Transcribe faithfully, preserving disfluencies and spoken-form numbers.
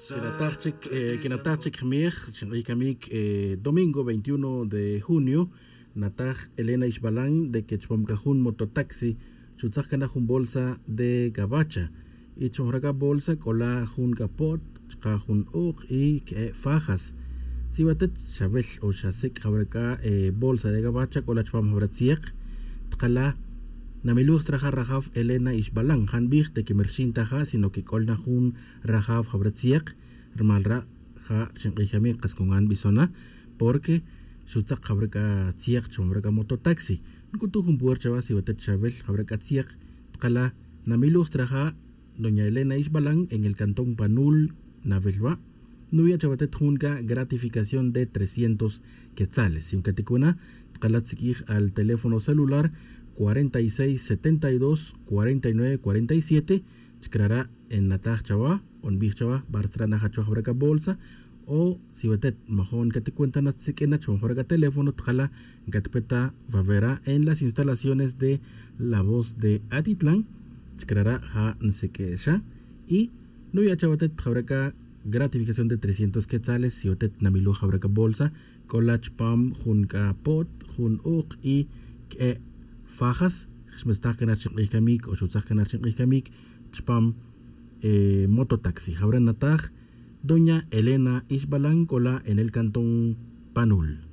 Quinataj chic quinataj chic jmej xink'ij camic domingo veintiuno de junio. Nataj elena ixbalan de que chupam c'a jun mototaxi xutzaj cana jun bolsa de gabacha. Y chupam jara' c'a bolsa c'o la jun c'a po't chuka' jun ok' y que'e' fajas. Si watet xawel o xasic' jawara' c'a bolsa de gabacha c'o la chupam jawara' tziek. Tkala namiloj straja' rajaf elena ixbalan ja' nbij de que mi rxin ta ja' sino que c'o la na jun rajaf jawara' tziek. Rumal ra' ja' xink'ij camic kas con ga' nbison na porque xutzak jawara' c'a tziek chupam jawara' c'a mototaxi. Nc'utuj jun puer chawa si watet xawel jawara' c'a tziek. Tkala namiloj straja' doña elena ixbalan en el cantón panul. Nawel wa' nuya' chawatet jun c'a gratificación de trescientos quetzales si mcaticuna. Tkala tsiq'uij al teléfono celular cuarenta y seis setenta y dos cuarenta y nueve cuarenta y siete. Chicrara' en nataj chawa o nbij chawa bar tzra' na jachow jawara' c'a bolsa. O si watet majo' ncaticuenta na tziq'uin na chupam jawara' c'a teléfono tkala ncatpeta wawera en las instalaciones de la voz de atitlan. Chicrara' ja' nsiq'uexa y nuya' chawatet jawara' c'a gratificación de trescientos quetzales si watet namiloj jawara' c'a bolsa. C'o la chupam jun c'a po't jun ok' y que'e' fajas. Xmistaj cana rchink'ij camic o xutzaj cana rchink'ij camic chupam mototaxi jawara' nataj doña elena ixbalan c'o la en el cantón panul.